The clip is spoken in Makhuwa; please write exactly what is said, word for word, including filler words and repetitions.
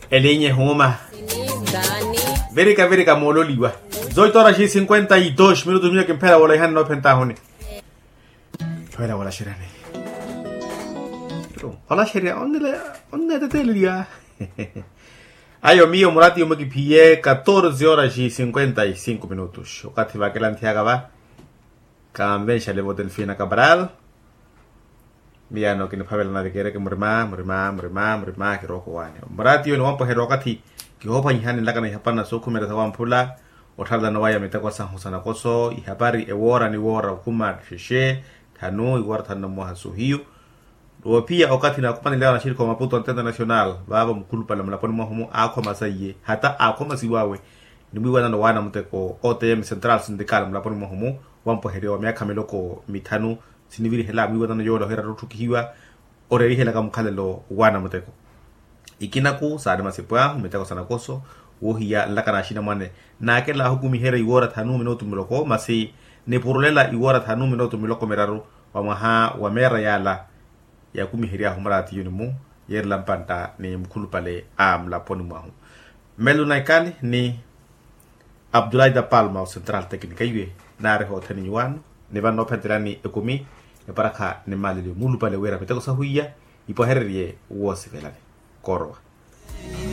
Elinya ehuuma. Virika virika moololiwa. Zoito horas e cinquenta e dois minutos miyo kimphela wolaihani noophentahuni. Lowela wolaxeryani. Olaxerya onneteteleliya. Ayo miyo murati yomwe kiphiye catorze horas e cinquenta e cinco minutos okathi vakelanthiyaka va. Kanvenxale vo delfina cabral. Miyano kiniphavela nave kereke murima murima murima murima kirooko waani. Murati yo niwampweherya okathi kihoophwanyihani nlakana ihapana sookhumela sawamphula. Otthalelano waya miteko sahu sanakoso ihapari ewoora ni woora okhuma xexe thanu iwoora thanu na mwaha sohiyu. Woophiya okathi naakhumaneleya wanaxirikha wa maputo antenta national vaavo mukhulupale mulaponi mwahumu aakhoma saiye hata aakhoma siwaawe. Nimwiiwanano waana muteko otm central sindical mulaponi mwahumu wampweherya wa myaakha miloko mithanu. Sinivirihela mwiiwanano yoola ohiira ttotthukihiwa oreerihelaka mukhalelo waana muteko. Ikinaku saari masipu ahu miteko sanakoso woohiya nlaka na axinamwane naakela ahukumiherya iwoora thanu minutu miloko masi nipurulela iwoora thanu minutu miloko miraru wa mwaha wa meera yaala. Yakumihery'ahu muraatiyuni-mu yeerela mpantta ni mukhulupale a mulaponi mwahu. Mmelo na ikali ni abdulahi da palma o central tecnica iwe naari hoothene nyuwaano ni vano noophentelani ekumi eparakha ni maaleliyo muulupale wira miteko sahwiya ipwahererye woosivelani. Koorowa.